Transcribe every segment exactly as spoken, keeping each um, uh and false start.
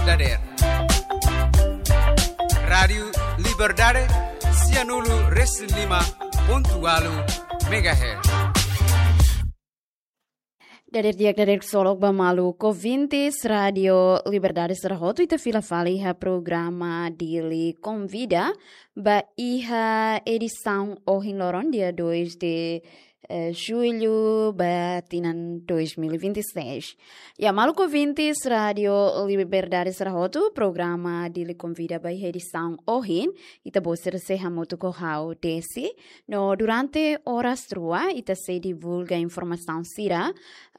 Dader. Rádiu Liberdade, sianulu resin lima pontu ualu megahertz. Dader di'ak, dader ksolok ba maluk ouvintes Rádiu Liberdade sira hotu, ita fila fali iha programa Dili Konvida ba iha edisaun ohin loron, dia dois de eh, jullu ba tinan dois mil e vinte e seis. Ya, maluk ouvintes Rádiu Liberdade sira hotu, programa Dili Konvida ba iha edisaun ohin, ita-boot sira sei hamutuk ho ha'u Desi. No durante oras rua, ita sei divulga informasaun sira,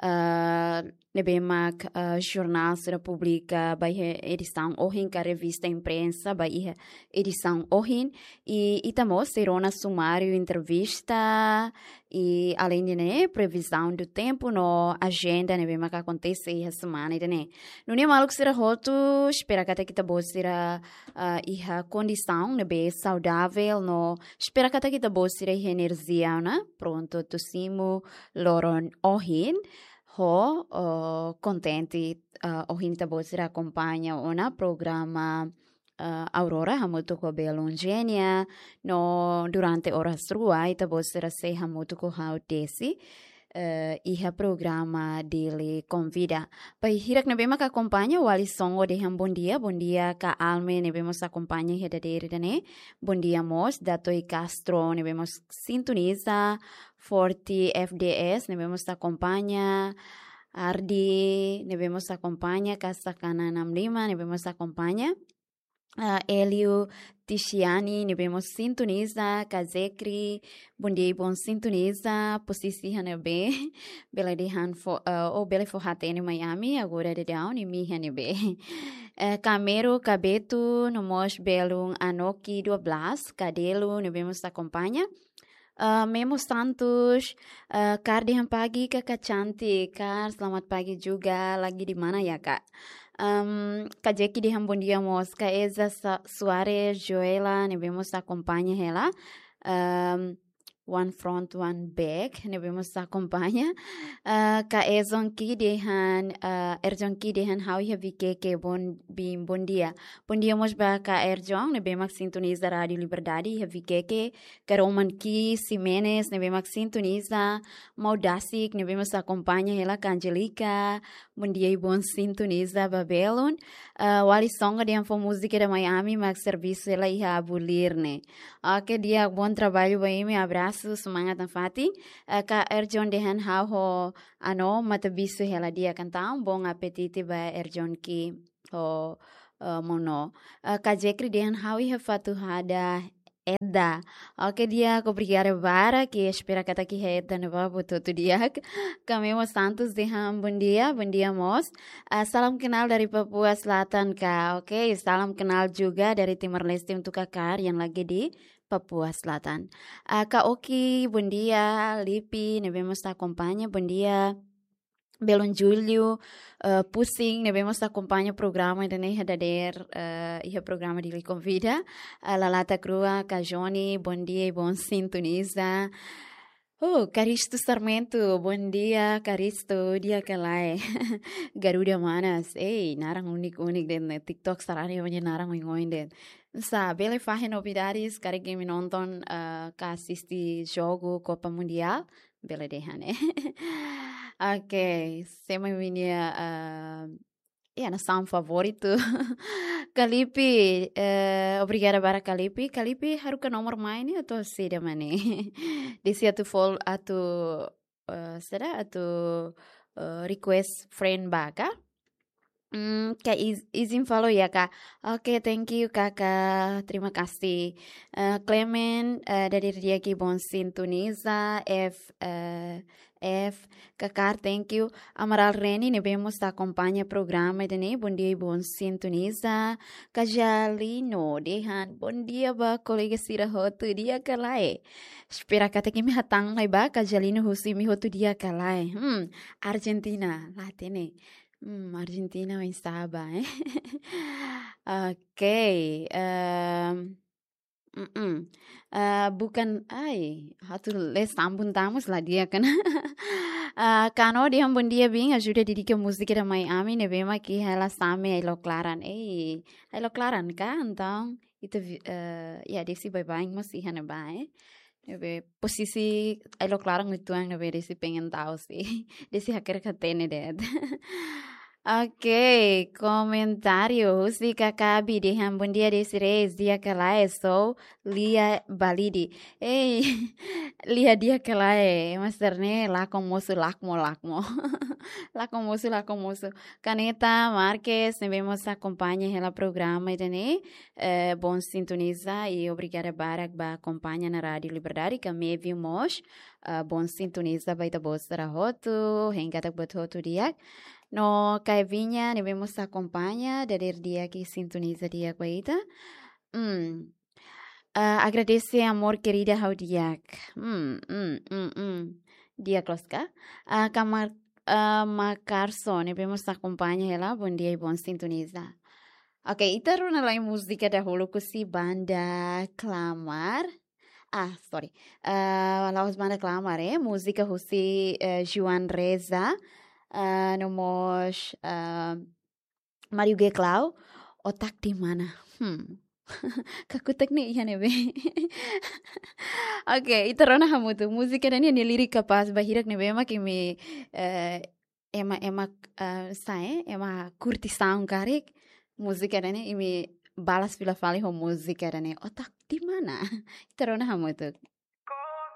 ah, ne'ebé mak, ah, jornál sira publika ba iha edisaun ohin, ka revista imprensa ba iha edisaun ohin. I ita mós sei rona sumáriu entrevista, i além de ne'e, previsão do tempo no ajenda ne'ebé mak akontese iha semana ida-ne'e. Nune'e maluk sira hotu, espera katak ita-boot sira, ah, iha kondisaun ne'ebé saudável no espera katak ita-boot sira iha enerjia ona, prontu atu simu loron ohin. Ho, oh, kontente, ah, ohin ita-boot sira akompaña ona programa, ah, Aurora hamutuk ho belun Genia, no durante oras rua ita-boot sira sei hamutuk ho ha'u Desi, eh, iha programa Dili Konvida. Ba hirak ne'ebé mak akompaña, Wali Songo dehan bondia, bondia Ka Alme ne'ebé mós akompaña iha dadeer ida-ne'e, bondia mós Datoi Castro ne'ebé mós sintoniza, Forte F D S ne'ebé mós akompaña, Ardi ne'ebé mós akompaña, Kasakana enam lima ne'ebé mós akompaña, ah, Elio Tixiani ne'ebé mós sintoniza, Kazekri, bondia i bon sintoniza, posisi iha ne'ebé, bele dehan fó, ah, ou bele fó hatene Miami, agora daudaun imi iha ne'ebé. Eh, Kamero, Kabetu, no mós belun Anoki dua belas, Kadelo ne'ebé mós akompaña. Ah, Memo Santos, ah, kaer dehan pagi, Kakak cantik, kaer selamat pagi juga, lagi di mana ya, Kak? Em, Kak Jeki dehan bondia mós, Kak Eza Sa-, Soares, Joela, ne'ebé mós akompaña hela. Em, One Front, One Back, ne'ebé mós akompaña. Ah, Kak Ezon Ki dehan, ah, Erjon Ki dehan ha'u iha Vikeke, bon, bin, bondia. Bondia mós ba Kak Erjon, ne'ebé mak sintoniza Rádiu Liberdade iha Vikeke, Karoman Ki Ximenes, ne'ebé mak sintoniza, Mau Dasik, ne'ebé mós akompaña hela, Ka Angelica, bondia i bon sintoniza ba belun. Ah, Wali Songo dehan fó múzika da Miami, mak servisu hela iha Abu Lirne. Oke, di'ak, bon traballu ba imi, abrasu, semangat nafatin. Ah, Kak Erjon dehan ha'u ho Ano, matabixu hela di'ak entaun, bon apetite ba Erjon Ki ho, eh, Mono. Eh, Kak Jekri dehan ha'u iha Fatuhada Edda. Oke, di'ak, obrigada barak, i espera katak iha Edda ne'ebá buat hotu di'ak. Kak Memo Santos dehan bondia, bondia mós. Ah, salam kenal dari Papua Selatan, Kak. Oke, salam kenal juga dari Timor Leste untuk Kak Kar yang lagi di Papua Selatan. Ah, Kak Oki, bondia, Lipi, ne'ebé mós akompaña, bondia. Belun Julio, eh, Pusing, ne'ebé mós akompaña programa ida-ne'e iha dadeer, eh, iha programa Dili Konvida. Eh, Lalata Krua, Kak Joni, bondia i bon sintoniza. Oh, Karisto Sarmento, bondia, Karisto, di'ak ka lae? Garuda Manas, ei, naran unik-unik de'it, ne'e TikTok sarani nia naran oin-oin de'it. Sá, bele fahe novidades, karik imi nonton, eh, ka asiste jogu Copa Mundial, bele dehan, eh. Oke, sé mak imi-nia, eh, ya, nasaun favoritu? Kak Lipi, eh, obrigada barak Kak Lipi. Kak Lipi haruka nomor mai ne'e atu saida mak ne'e? Desi atu fol-, atu, eh, saida, atu, eh, request friend ba ka? Hmm, Kak Iz-, izin follow ya, Kak. Oke, thank you, Kakak. Terima kasih. Eh, Clement, eh, dadeer di'ak i bon sintoniza, F, eh, F, Kak Kar, thank you. Amaral Reni, ne'ebé mós akompaña programa ida-ne'e, bondia i bon sintoniza. Kak Jalino, dehan, bondia ba kolega sira hotu, di'ak ka lae? Espera katak imi hatán mai ba, Kak Jalino, husi imi hotu di'ak ka lae? Hmm, Argentina, la hatene. Hmm, Argentina oinsá ba, eh? Oke, em, mm-mm. Eh, bukan, ai, atu lee sambung tamus la di'ak ona. Ah, Kano dehan bondia, bin ajuda dedika múzika ida mai ami, ne'ebé mak hela Same Ai-loklaran. Ei, Ai-loklaran ka? Entaun ita vi-, eh, ya, Desi baibain mós iha ne'ebá, eh. Ne'ebé posisi Ai-loklaran uitoan ne'ebé Desi pengen tau sih. Desi hakerek hatene de'it. Oke, komentáriu husi Kakabi dehan bondia Desi Reis, di'ak ka lae, sou Lia Balide. Ei, Lia di'ak ka lae, master ne'e lakon mosu lakmo lakmo. Lakon mosu, lakon mosu. Kaneta Marques, ne'ebé mós akompaña hela programa ida-ne'e, eh, bom sintoniza i obrigada barak ba akompaña ona Rádiu Liberdade, ka Mevio mós, eh, bom sintoniza ba ita-boot sira hotu, hein katak buat hotu di'ak. No Kaivinha, ne'ebé mós akompaña, dadeer di'ak i sintoniza di'ak ba ita. Hmm. Ah, agradese amor querida, ha'u di'ak. Hmm, hmm, hmm, hmm. Di'ak loos ka? Ah, Kamar, ah, Makarso, ne'ebé mós akompaña hela, bondia i bom sintoniza. Oke, ita rona lai múzika dahuluk husi banda Klamar. Ah, sorry. Ah, la'ós banda Klamar, eh. Múzika husi, eh, Joan Reza, ah, no mós, ah, Mario Geklau, Otak di Mana. Hmm. Kakutak ne'e iha ne'ebé. Oke, ita rona hamutuk. Múzika ida-ne'e nia lirik kapás ba hirak ne'ebé mak imi, eh, ema, ema, eh, sa'e, ema kurtisaun karik. Múzika ida-ne'e imi balas fila fali ho múzika ida-ne'e, Otak di Mana. Ita rona hamutuk.